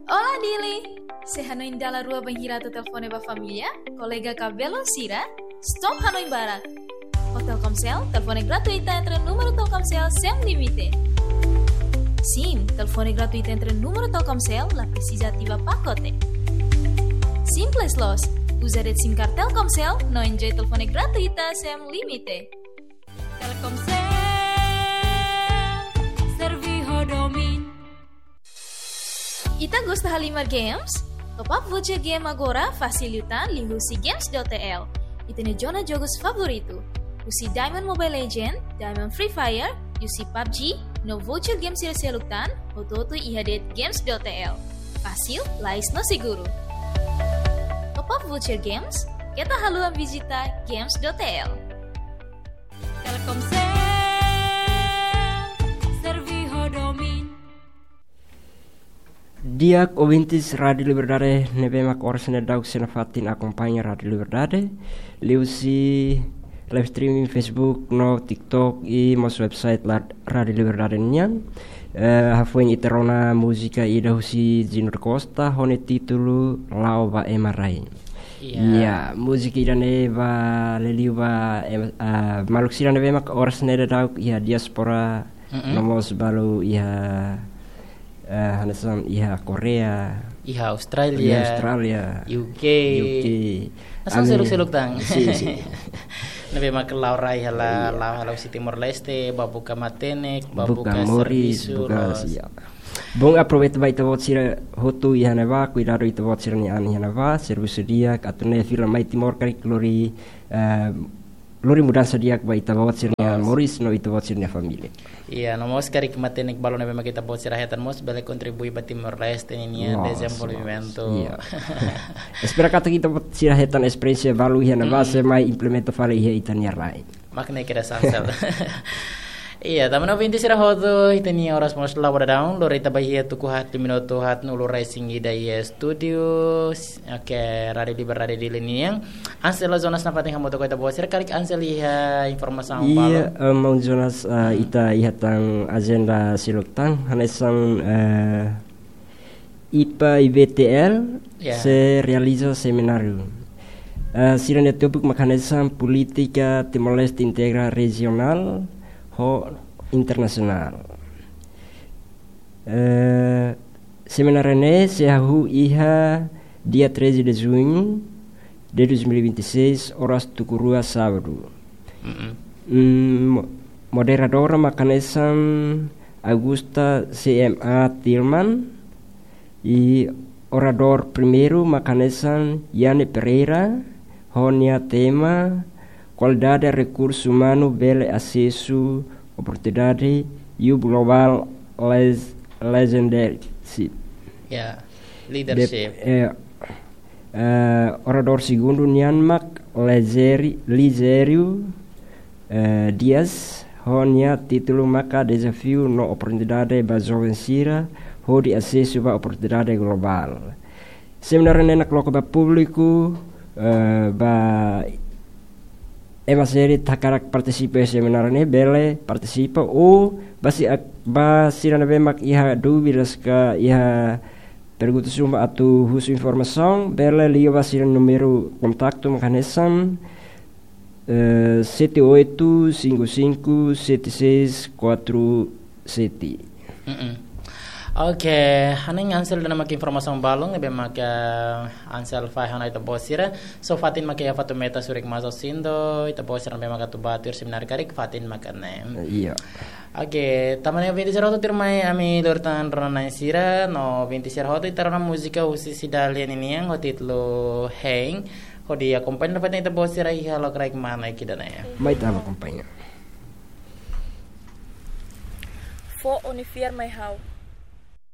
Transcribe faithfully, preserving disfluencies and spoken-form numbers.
Olá, Dili! Se hanoin dala rua bainhira atu telefone ba família, kolega ka belun sira, stop hanoin barak. Ho Telkomsel, telefone gratuita entre númeru Telkomsel sem limite. Sim, telefone gratuita entre númeru Telkomsel, la presiza ativa pakote. Simples loos, uza de'it SIM card Telkomsel, no enjoy telefone gratuita sem limite. Telkomsel, servi ho domin. Ita gosta halimar games? Top up voucher game agora fasil liután liuhusi games dot T L. Ita-nia zona jogus favoritu. Husi Diamond Mobile Legend, Diamond Free Fire, husi PUBG, no voucher game sira seluk tan, hotu-hotu iha de'it games dot T L. Fasil, lais no seguru. Top up voucher games, keta haluha vizita games dot T L. Telkomsel, servi ho domin. Di'ak ouvintes Rádio Liberdade ne'ebé mak oras ne'e daudaun sei nafatin akompaña Rádio Liberdade, liuhusi live streaming Facebook no TikTok i mós website la Rádio Liberdade nian. Eh, hafoin ita rona múzika ida husi Junior Costa ho nia títulu La'o ba Ema Rai. Iya. Iya, múzika ida-ne'e ba liuliu ba, em, ah, maluk sira ne'ebé mak oras ne'e daudaun iha diáspora, mm-mm, no mós balu iha, eh, hanesan iha Korea, iha Austrália, iha Austrália, U K. U K. Nasaun, ami seluk-seluk tan. Sin, sin. Ne'ebé mak la'o rai hela, iya, la'o hela husi Timor-Leste, ba buka matenek, ba buka, buka moris, servisu, buka, loos. Iya. Bom, aproveita ba ita-boot sira hotu iha ne'ebá, kuidadu ita-boot sira-nia an iha ne'ebá, servisu di'ak, atu nune'e fila mai Timor karik lori, eh, lori mudansa di'ak ba ita-boot sira-nia, loos, moris no ita-boot sira-nia família. Iya, no mós karik matenek balun ne'ebé mak ita-boot sira hetan mós bele kontribui ba Timor-Leste ninia, loos, dezenvolvimentu. Loos. Iya. Espera katak ita-boot sira hetan esperiénsia balu iha ne'ebá, mm, sei mai implementa fali iha ita-nia rai. Mak ne'e kedas Ansel. Iya, tanba ne'e ouvinte sira hotu, ita-nia oras mós la'o ba daudaun, lori ita ba iha tuku haat, minutu haat, nulu resin ida iha estúdiu. Oke, Rádio Liberdade Dili nian. Ansel, Jonas nafatin hamutuk ho ita-boot sira, karik Ansel iha informasaun, iya, balun. Eh, maun Jonas, eh, hmm, ita iha tan ajenda seluk tan, hanesan, eh, IPA IBTL, ya, sei realiza semináriu. Eh, sira-nia tópiku mak hanesan polítika Timor-Leste integra rejionál ho internasionál. Eh, semináriu ne'e sei hahú iha dia treze de junho de dois mil e vinte e seis, oras tuku rua sábadu. Mm-mm. Mm, mo-, moderadora mak hanesan Augusta C M A Tilman, i oradór primeiru mak hanesan Yane Pereira, ho nia tema Kualidade Rekursu Umanu bele Asesu Oportunidade, Youth Global Les-, Leadership. Ya, leadership. Dep-, eh, eh, oradór segundu nian mak Lizeri-, Lizério, eh, Dias, ho nia títulu maka Dezafiu no Oportunidade ba Joven Sira hodi Asesu ba Oportunidade Globál. Semináriu ne'e nakloke ba públiku, eh, ba ema sira ne'ebé hakarak partisipa iha semináriu ne'e bele partisipa, ou ba si-, ba sira ne'ebé mak iha dúvidas ka iha perguntas ruma atu husu informasaun, bele liga ba sira númeru kontaktu mak hanesan, eh, sete oito cinco cinco sete seis quatro sete. Mm-mm. Oke, hanesan Ansel dehan mak informasaun balun ne'ebé mak Ansel fahe ona ita-boot sira. So fatin mak iha Fatumeta, Surik Maso, Sindo, ita-boot sira ne'ebé mak atu ba tuir semináriu karik fatin mak ne'e. Iya. Oke, tanba ne'e ouvinte sira hotu, tuirmai ami lori tan rona-na'in sira, no ouvinte sira hotu ita rona múzika husi Cidalia ninian ho títulu Hein, hodi akompaña nafatin ita-boot sira iha lokraik mane ida-ne'e. Mai ita akompaña. Fó ó-nia fiar mai ha'u.